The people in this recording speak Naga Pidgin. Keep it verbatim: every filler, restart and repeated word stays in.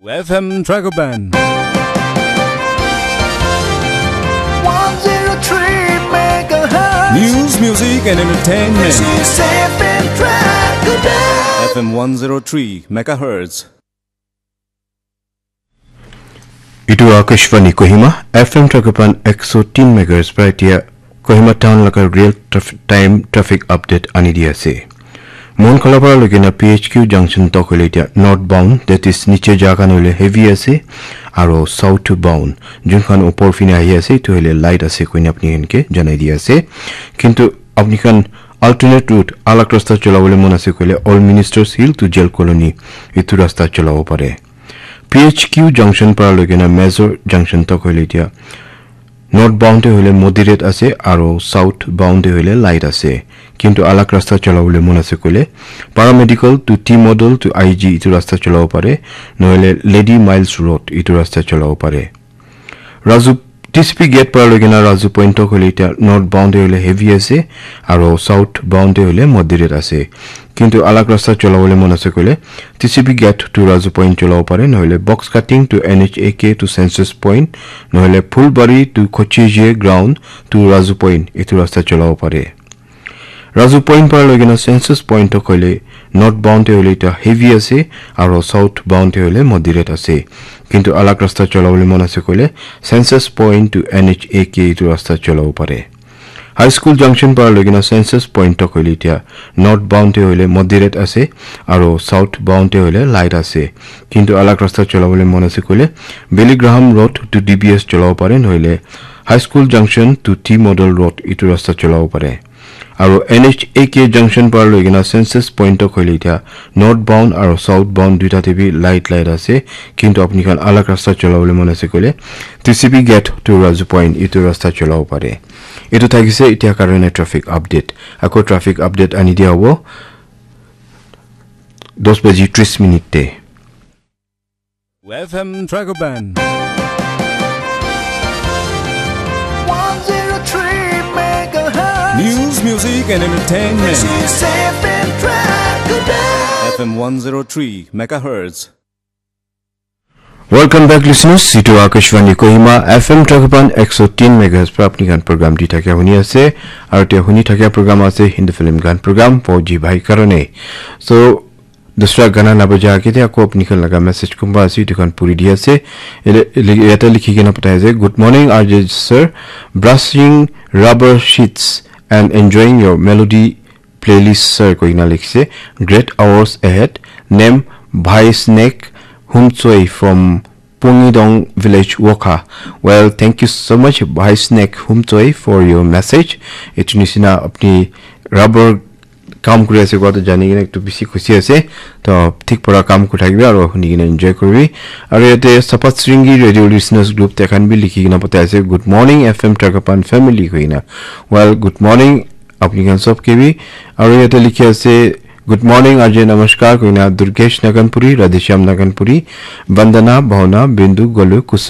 F M Dragoban. one zero three megahertz. News, music, and entertainment. This is F M Dragoban. F M one zero three megahertz. Itu Akashvani Kohima, F M Dragoban ekso tin megahertz pra etia Kohima town laga real traf- time traffic update ani di ase. Monkholapara loikena P H Q junction tok hoile etia northbound, that is niche ja khan hoile heavy ase, aro southbound, jun khan upor fine ahi ase, etu hoile light ase koina apni khan ke janai di ase. Kintu apni khan alternate route, alag rasta cholabole mon ase koile Old Ministers Hill to Jail Colony, etu rasta cholabo pare. P H Q junction para loikena Major junction tok hoile etia northbound te hoile moderate ase aro southbound te hoile light ase. Kintu alag rasta cholabole mon ase koile Paramedical to T Model to I G etu rasta cholabo pare, nohole Lady Miles Road etu rasta cholabo pare. Raju T C P gate para loikena Raju Point tok hoile etia northbound te hoile heavy ase aro southbound te hoile moderate ase. Kintu alag rasta cholabole mon ase koile T C P gate to Raju Point cholabo pare, nohole Box Cutting to N H A K to Census Point, nohole Phulbari to Kochije ground to Raju Point etu rasta cholabo pare. Raju Point para loikena Census Point tok hoile northbound te hoile etia heavy ase aro southbound te hoile moderate ase. Kintu alag rasta cholabole mon ase koile Census Point to N H A K etu rasta cholabo pare. High School junction para loikena Census Point tok hoile etia northbound te hoile moderate ase aro southbound te hoile light ase. Kintu alag rasta cholabole mon ase koile Billy Graham Road to D B S cholabo pare, nohole High School junction to T Model Road etu rasta cholabo pare. Aro N H A K junction para loikena Census Point tok hoile etia northbound aro southbound duita te bi light light ase, kintu apni khan alag rasta cholabole mon ase koile T C P gate to Raju Point etu rasta cholabo pare. Etu thakise etia karone traffic update. Ako traffic update ani dia hobo dos baji tris minute te. F M Dragoban. one zero three megahertz. News, music, and entertainment. This is F M Dragoban. F M one zero three megahertz. Welcome back, listeners. Situ Akashvani Kohima, F M Dragoban ekso tin megahertz pra apni khan program di thakia huni ase. Aru te huni thakia program ase Hindi film gan program, Fauji Bhai karone. So, dusra gana na baja ke te ako apni khan laga message kumba ase, etu khan puri di ase. Ele- ele- yate likhi kena patai ase, "Good morning, R J sir. Brushing rubber sheets and enjoying your melody playlist, sir," koina likhise. "Great hours ahead. Name Bhai Snake Humchoi from Pungidong village, Wokha." Well, thank you so much, Bhai Snake Humchoi, for your message. Etu nisina apni rubber kam kuri ase koa to jani kena ekdum bishi khushi ase. To thik pora kam kuri thakibi aru huni kena enjoy kuribi. Aru yate Sapat Sringi Radio Listeners Group te khan bi likhi kena patai ase, "Good morning, F M Trakapan family," koina. Well, good morning, apni khan sob ke bi. Aru yate likhi ase, "Good morning, R J namaskar," koina Durgesh Naganpuri, Radheshyam Naganpuri, Vandana, Bhawana, Bindu, Golu, Kusum,